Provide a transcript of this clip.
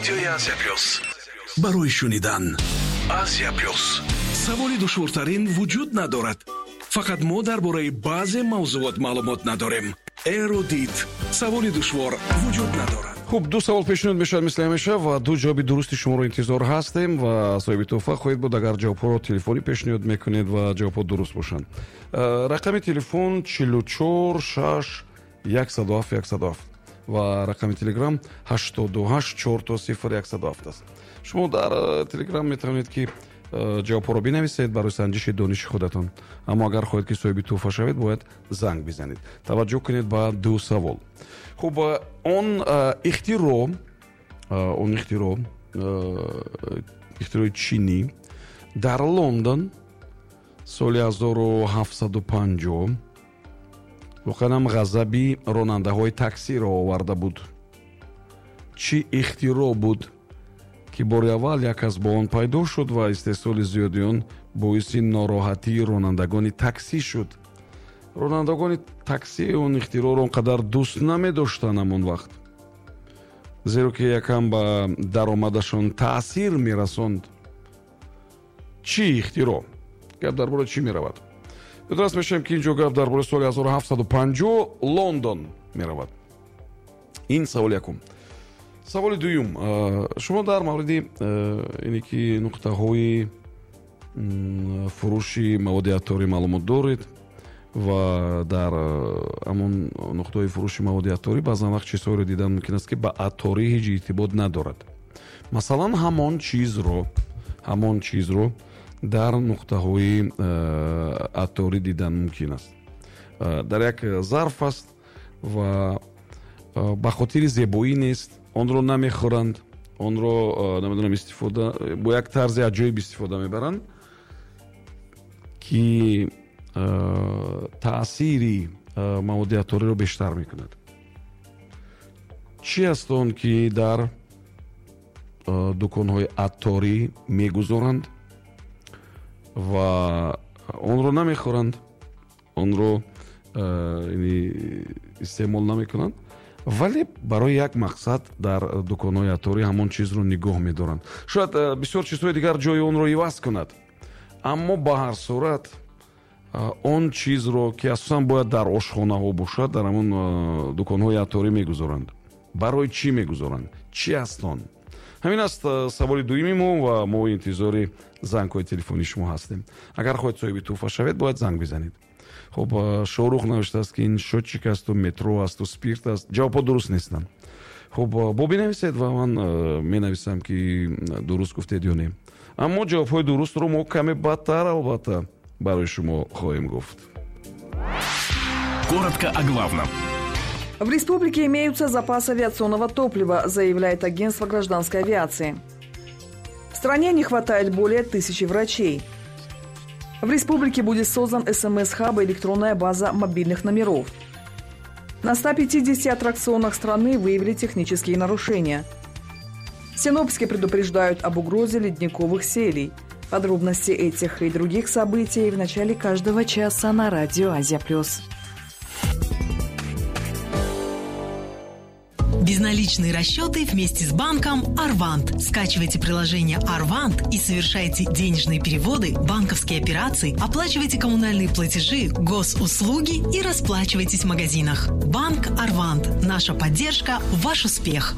Радиои Азия Плюс. Барои шунидан. Азия Плюс. Саволи душвортарин вуҷуд надорад. Фақат мо дар бораи баъзе мавзуот маълумот надорем. Эрудит. Саволи душвор вуҷуд надорад. Хуб, ду савол пешниҳод мешавад мисли ҳамеша ва ду ҷавоби дурусти шуморо интизор ҳастем ва соҳиби тӯҳфа хоҳед буд, агар ҷавобҳоро телефонӣ пешниҳод мекунед ва ҷавобҳо дуруст бошанд. Рақами телефон 44 6 107 107 ва рақами телеграм 88 4 0 107 аст. Шумо дар телеграм метавонед ки ҷавобҳоро бинависед барои санҷиши дониши худатон. Аммо агар хоҳед ки соҳиби тӯҳфа шавед, бояд занг бизанед. Таваҷҷӯҳ кунед ба ду савол. Хуб, он ихтироъ ихтирои чинӣ дар Лондон соли 1750 воқеан ҳам ғазаби ронандаҳои таксиро оварда буд. Чӣ ихтироъ буд, ки бори аввал як аз бо он пайдо шуд ва истеҳсоли зиёди он боиси нороҳатии ронандагони таксӣ шуд? Ронандагони таксӣ он ихтироъро он қадар дӯст намедоштанд ҳамон вақт, зеро ки якам ба даромадашон таъсир мерасонд. Чӣ ихтироъ? Гап дар бораи чӣ меравад? Ёдрас мешавем, ки инҷо гап дар бораи соли 1750 Лондон меравад. Ин саволи якум. Саволи дуюм. Шумо дар мавриди ине ки нуқтаҳои фурӯши маводи атторӣ маълумот доред ва дар ҳамон нуқтаҳои фурӯши маводи атторӣ баъзан вақт чизҳоеро дидан мумкин аст, ки ба атторӣ ҳеҷ иртибот надорад. Масалан, ҳамон чизро дар нуқтаҳои атторӣ дидан мумкин аст. Дар як зарф аст ва ба хотири зебоӣ нест, онро намехӯранд, онро намедонам истифода бо як тарзи аҷоиб истифода мебаранд, ки таъсири маводи атториро бештар мекунад. Чӣ аст он, ки дар дуконҳои атторӣ мегузоранд ва онро намехӯранд, онро истеъмол намекунанд, вале барои як мақсад дар дуконҳои атторӣ ҳамон чизро нигоҳ медоранд? Шояд бисёр чизҳои дигар ҷои онро иваз кунад, аммо ба ҳар сурат он чизро, ки асосан бояд дар ошхонаҳо бошад, дар ҳамон дуконҳои атторӣ мегузоранд. Барои чӣ мегузоранд? Чӣ аст он? Ҳамин аст саволи дуюми мо ва мо интизори зангҳои телефонии шумо ҳастем. Агар хоҳед соҳиби тӯҳфа шавед, бояд занг бизанед. Хуб, Шоҳрух навиштааст, ки ин счётчик асту метро асту спирт аст. Ҷавобҳо дуруст нестанд. Хуб, бо бинависед ва ман менависам, ки дуруст гуфтед ё не. Аммо ҷавобҳои дурустро мо каме баъдтар албатта барои шумо хоҳем гуфт. Коротко о главном. В республике имеются запасы авиационного топлива, заявляет агентство гражданской авиации. В стране не хватает более 1000 врачей. В республике будет создан СМС-хаб и электронная база мобильных номеров. На 150 аттракционах страны выявили технические нарушения. Синоптики предупреждают об угрозе ледниковых селей. Подробности этих и других событий в начале каждого часа на радио «Азия Плюс». Безналичные расчеты вместе с банком «Арвант». Скачивайте приложение «Арвант» и совершайте денежные переводы, банковские операции, оплачивайте коммунальные платежи, госуслуги и расплачивайтесь в магазинах. Банк «Арвант». Наша поддержка – ваш успех.